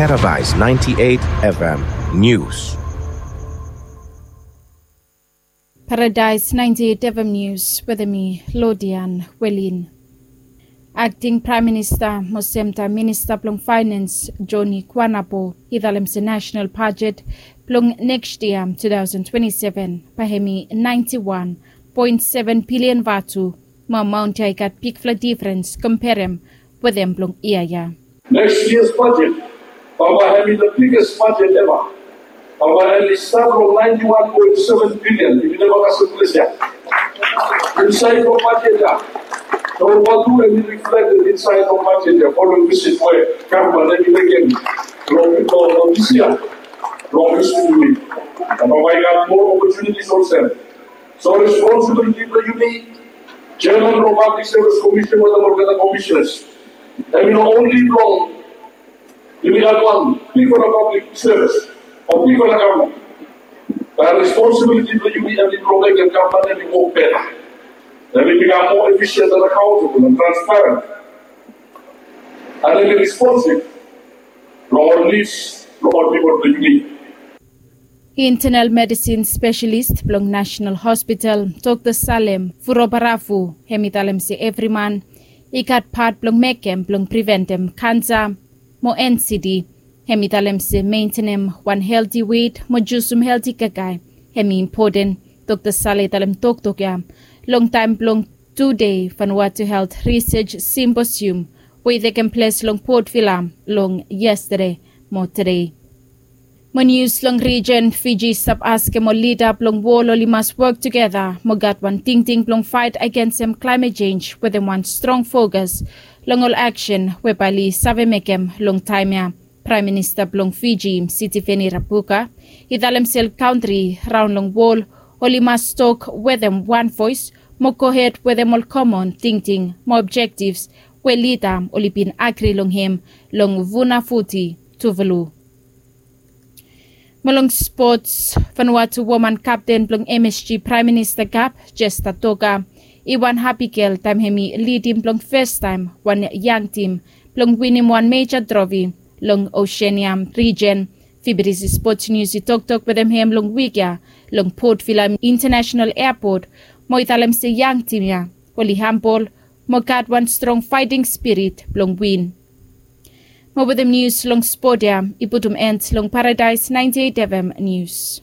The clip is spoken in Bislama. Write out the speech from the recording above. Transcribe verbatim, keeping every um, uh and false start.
Paradise ninety-eight F M News. Paradise ninety-eight F M News wetem mi, Lodian Welin. Akting Praem Minista mo semtaem Minista blong Faenans, Johnny Kuanapo, i talem se nasenal bajet blong neks yia, two thousand twenty-seven, bae hemi ninety-one point seven billion vatu, mo amaon ya i gat bigfala difrens komperem wetem blong yia ya. Next year's budget, bambae hemi the biggest budget ever. Bambae hemi stap long ninety-one point seven billion, yumi neva kasem ples ya. Insaed long budget ya, nao vatu hemi reflected insaed long budget ya, following visit we gavman hemi mekem long, long, long this year, long this week. Bambae i gat more opportunities olsem. So responsibility blong yumi, Chairman blong Public Service Commission wetem olgeta commissioners, hemi no only blong yumi gat wan bigfala public service o bigfala gavman. Bae responsibility blong yumi hemi blong mekem gavman hemi wok beta. Hemi bikam more efficient and accountable and transparent. And hemi responsive long ol needs blong ol pipol blong yumi. Internal medisin spesalis blong Nasenal Hospital, Dokta Salem Furobarafu, hemi talem se evri man i gat pat blong mekem blong priventem kansa mo N C D. Hemi talem se mentenem wan helti wet mo jusum helti kakae hemi impoten. Dokta Salem i talem toktok ya long taem blong tudei Vanuatu Health Research Symposium we i tekem ples long Port Vila long yestade mo tede. Mo nius long rijen, Fiji i stap askem ol lida blong wol oli mas wok tugeta mo gat wan tingting blong faet agensem klaemet jenj wetem wan strong fokas long ol aksen we bae oli save mekem long taem ya. Praem Minista blong Fiji, Sitiveni Rabuka, i talem se ol kantri raon long wol oli mas tok wetem wan voes mo gohed wetem ol komon tingting mo objektivs we lida oli bin agri long hem long Funafuti, Tuvalu. Mo long spots, Vanuatu woman kapten blong M S G Praem Minista Kap, Jesta Toka, i wan hapi gel taem hemi lidim blong fastaem wan yang tim blong winim wan meja trofi long Oseania rijen. Fibidisi Spots Nius i toktok wetem hem long wik ya long Port Vila International Airport, mo i talem se yang tim ya oli hambol mo gat wan strong faeting spirit blong win. Mo wetem nius long spot ya i putum en long Paradise ninety-eight F M Nius.